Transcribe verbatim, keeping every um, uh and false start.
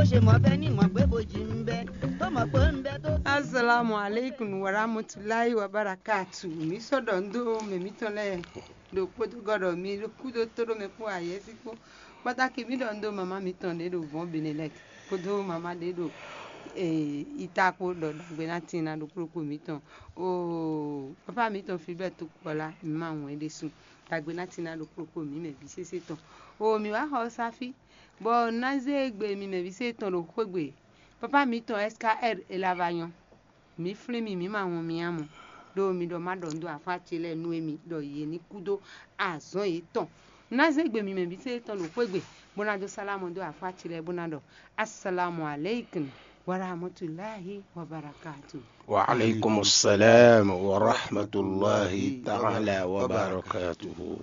Ṣe mɔ bɛ ní mɔ gbé bó jí ń bɛ, tó mɔ pé ń bɛ tó. Assalamu alaikum warahmatullahi wabarakatuh. Mi sɔ́ ɖɔ ń dó mɛ mǐtɔn lɛ́ɛ ɖo kpódó gɔ́ ɖɔ mi kúdó tóɖó mɛ kpó ayɛ́sí kpó. Kpátákì mǐ ɖɔ ń dó mama mǐtɔn ɖě ɖo vɔ̌n Benelɛk kpódó mama ɖě ɖo ita kpó ɖɔ ɖagbe ná tin ná ɖokpó ɖokpó mǐtɔn. Oo, papa mǐtɔn Filbert Tokpɔla, mǐ ma wɔn é ɖésú. Ɖagbe ná tin ná ɖokpó ɖokpó mǐ mɛ vǐ sésé tɔn. Oo, mǐ wá xɔ sáfí, bɔ ná zé gbe mi mɛ vǐ sésé tɔn ɖo xwé gbe. Papa mǐtɔn S K R e la va nyɔ́. Mǐ flín mi, mǐ ma wɔn mi ǎ mɔ. Ɖó mi ɖɔ má ɖɔ nǔ dó afá ce lɛ́ɛ nú émi ɖɔ yě ní kú dó azɔ̌ yětɔn. Ná zé gbe mi mɛ vǐ sésé tɔn ɖo xwé gbe, bó ná dó sálámɔ dó afá ce lɛ́ɛ bó ná ɖɔ: Assalamu alaikum warahmatullahi wabarakatuh. وعليكم السلام ورحمة الله تعالى وبركاته.